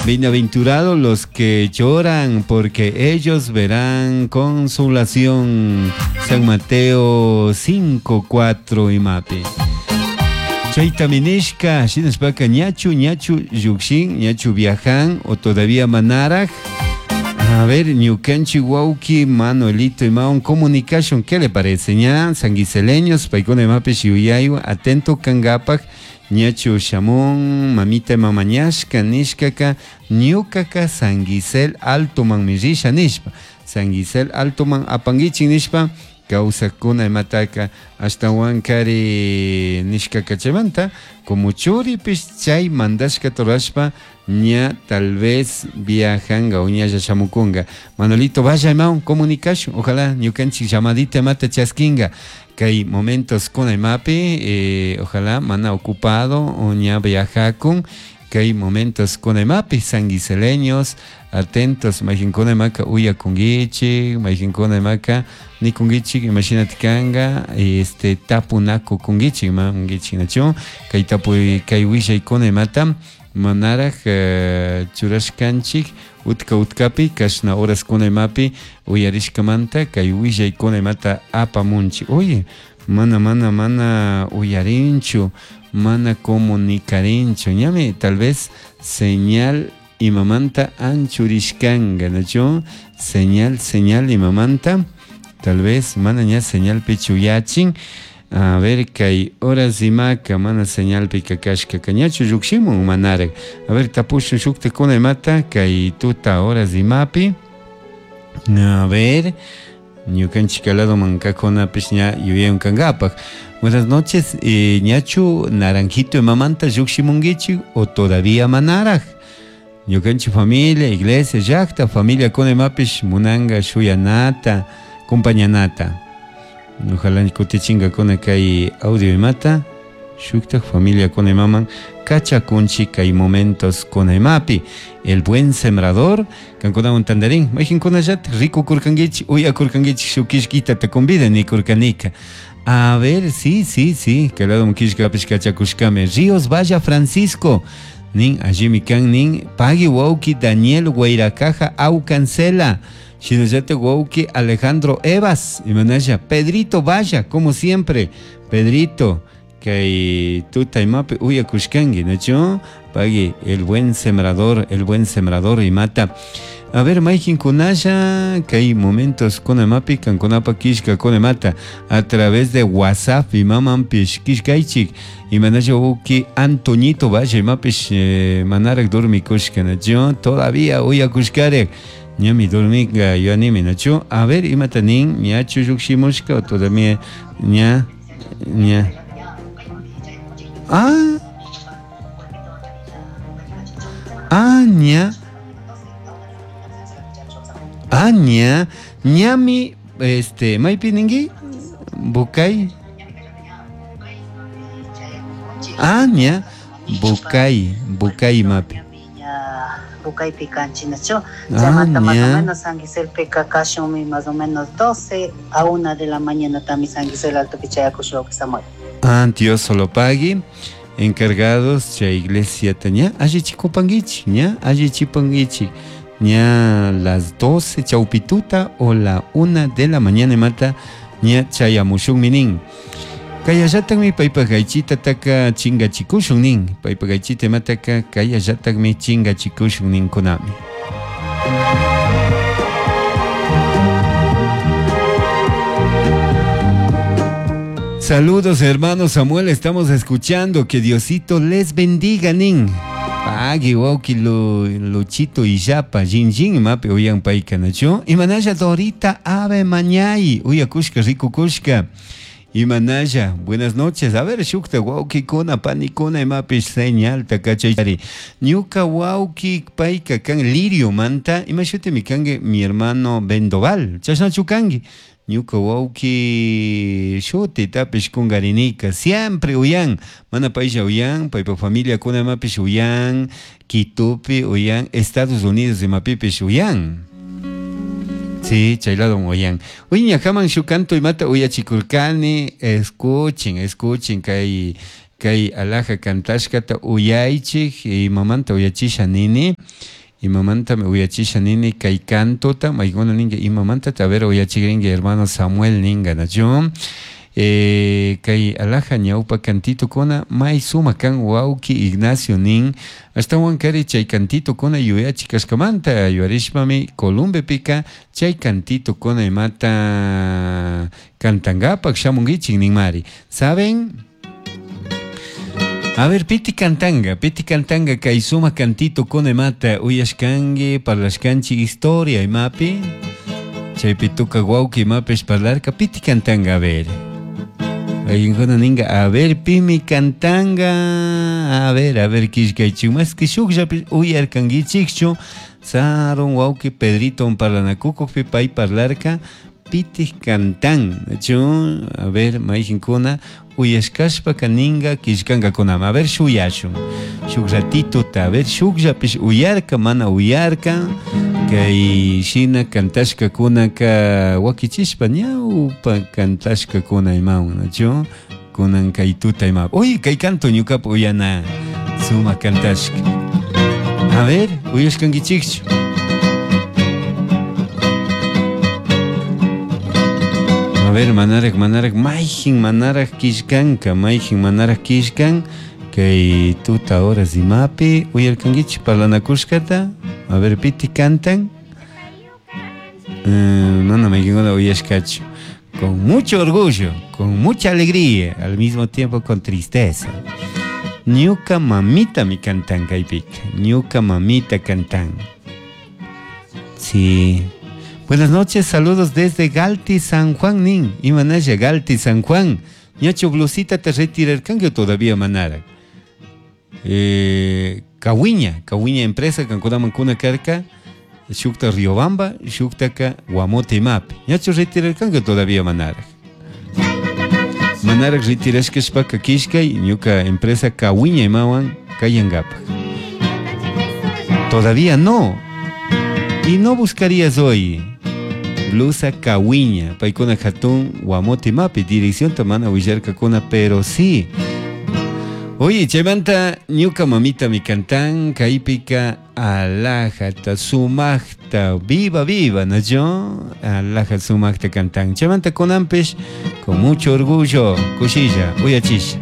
Bienaventurados los que lloran, porque ellos verán consolación. San Mateo 5, 4 imapi. Chayta minishka, shinashpaka ñachu, ñachu llukshin, ñachu viajan o todavía manaraj. A ver, ñukanchik wawki Manuelito imawan comunicación, ¿qué le parece? Ña, sanguiseleños, paykuna imapish yuyaywan, atento kangapak, ñachu shamun, mamita mamañashka nishkaka, ñukaka Sanguisel Altoman risha nishpa, Sanguisel Altoman apanguichin nishpa, kawsakuna imataka ashtawankari nishkaka chaymanta, como churipish chay mandashkata rurashpa ña tal vez viajanga o ñalla shamukunga. Manolito, vaya imawan comunicación, ojalá ñukanchik llamadita imata chaskinga. Kay momentos kuna imapi, ojalá mana ocupado o ña viajakun, kay momentos kuna imapi, sanguiseleños, atentos, mayqinkuna imaka uyakunkichik, mayqinkuna imaka nikunkichik, imashinati kanga, tapunakukunkichik, imankichik nachu, kay tapuy, kay willaykuna imata, manaraj churashkanchik, utka utkapi, kashna horas kuna imapi, uyarishkamanta, kay willaykuna imata apamunchik. Oye, mana, mana, mana uyarinchu, mana comunicarinchu, ñami tal vez señal imamanta anchurishkanga, ¿nachu? Señal, señal imamanta, tal vez mana ña señal pichuyachin. A ver, kay horas imaka mana señal pikakashka kañachu llukshimun manaraj. A ver, tapushun shuktakuna imata, kay tuta horas imapi. A ver, ñukanchik lado mankakunapish ña yuyayon kangapak. Buenas noches, ñachu naranjito imamanta llukshimunkichik o todavía manaraj. Ñukanchik familia, iglesia, llakta, familia kuna imapish munanga shuyanata, compañanata. Ojalá kutichinkakuna kay audio imata, shuktak familia kuna imaman kachakunchik kay momentos kuna imapi. El buen sembrador, kankunawan tandarin, mayqinkunallatak rikukurkankichik, uyakurkankichik shuk kishkita te convida nikurkanika. A ver, sí, sí, sí, kay lado kishkapish kachakushkami. Ríos Valla Francisco, nin, allimi kan nin, pagui wawki Daniel Guairacaja Aucancela. Shinallata wawki Alejandro Evas, imanalla, Pedrito Valla, como siempre, Pedrito, kay tuta imapi uyakushkanki, ¿nachu? Pagui, el buen sembrador imata. A ver, mayqinkunalla, kay momentos kunamapi, kankunapa kishka kunamata, a través de WhatsApp imamanpish kishkaychik, imanalla wawki Antoñito Valle imapish manaraj dormikushka, ¿nachu? Todavía uyakushkarek. Ñami dormiga yuanimi, ¿nachu? A ver, imata nin, ñachu llukshimushka o todavía ña, ña. Ah, ah, ña. Ah, ña, ñami, maypi ninki, Bucay. Ah, ña, Bucay, Bucay mapi. Bucaypi kanchinachu. Chaymanta más o menos Sanguiselpika kashunmi más o menos 12 a 1 de la mañana también Sanguisel Altopi chayakushwa Samuel. Ah, Dios solo pague. Encargados chay iglesia taña, allichikupankichik, ña, allichipankichik. Ña las 12 chaupituta o la 1 de la mañana mata ña chayamushunmi nin. Kayallatakmi paypaq aychita taka chingachikushun nin. Paypaq aychita imataka kayallatakmi chingachikushun ninkunami. Saludos hermano Samuel, estamos escuchando, que Diosito les bendiga nin. Pagui wawki Luchito Illapa, Jin Jin imapi uyan paykanachu. Imanalla Dorita Ave Mañay, uyakushka rikukushka. Imanalla, buenas noches. A ver, shukta wawkikuna, panikuna imapish señalta kachayari. Ñuka wawki payka kan lirio manta, imashutimi kanki mi hermano Vendoval. Chashnachu kanki. Ñuka wawki shuti tapish kunkarinika, siempre uyan, mana paylla uyan, paypa familia kuna imapish uyan, Quitupi uyan, Estados Unidos imapipish uyan. Sí, chay lado uyan. Uy, ñajaman shuk canto imata uyachikurkani, escuchen, escuchen kay Kay alhaja cantashkata uyaychik, imamanta uyachisha nini, imamantami uyachisha nini kay cantota, maykuna ninka imamanta a ver uyachikrinki hermano Samuel ninka, nachu? Kay alhaja ñawpa cantitokuna may sumak kan wawki Ignacio nin, ashtawan kari chay cantitokuna yuyachi kashkamanta yuyarishpami Columbepika chay cantitokuna imata cantangapak shamunkichik ninmari. ¿Saben? A ver, piti cantanga, piti cantanga kay sumak cantitokuna imata uyashkanki, parlashkanchik historia imapi, chaypi tuka wawki imapish parlarka, piti cantanga, a ver. Ayunkuna ninka, a ver, pimi cantanga, a ver, killkaychik, mas que shukllapish uyarkankichikchu, sarun wawki Pedrito parlanakukukpi pay parlarka, piti cantan, chu, a ver, mayjinkuna, uyashkashpaka ninka killkankakunama, a ver, shuyashun, shuk ratituta, a ver, shukllapish uyarka, mana uyarka, kay shina cantashkakunaka wakichishpa ñawpa cantashkakuna imawan, nachu, kunan kay tuta ima, uy, kay canto ñukapa uyana, sumak cantashka. A ver, uyashkankichikchu. A ver, manarak, manarak, mayjin manarak killkanka, mayjin manarak killkan, kay tuta horas imapi, uyarkankichik parlanakushkata, a ver, piti cantan. Mana mayjinkuna uyashkachu. Con mucho orgullo, con mucha alegría, al mismo tiempo con tristeza. Ñuka mamita mi cantan kaypika, ñuka mamita cantan. Sí. Buenas noches, saludos desde Galti, San Juan, nin. Imanaya, Galti, San Juan. Ñacho blusita te retirarkanki todavía manara. Cahuiña, Cahuiña empresa, kankunaman kuna karka, shukta Riobamba, shuktaka Guamote imapi. Ñacho retirarkanki todavía manara. Manara retirashkashpaka kishkay, ñuka empresa Cahuiña imawan kayangapak. Todavía no. Y no buscarías hoy blusa Cahuiña, paykuna hatun Guamote imapi, dirección tamana willarkakuna, pero sí. Oye, chaymanta ñuka mamita mi cantan, kaypika alhajata sumakta, viva viva, ¿no yo? Alhaja sumakta cantan. Chaymanta kunanpish, con mucho orgullo, kushilla, uyachisha.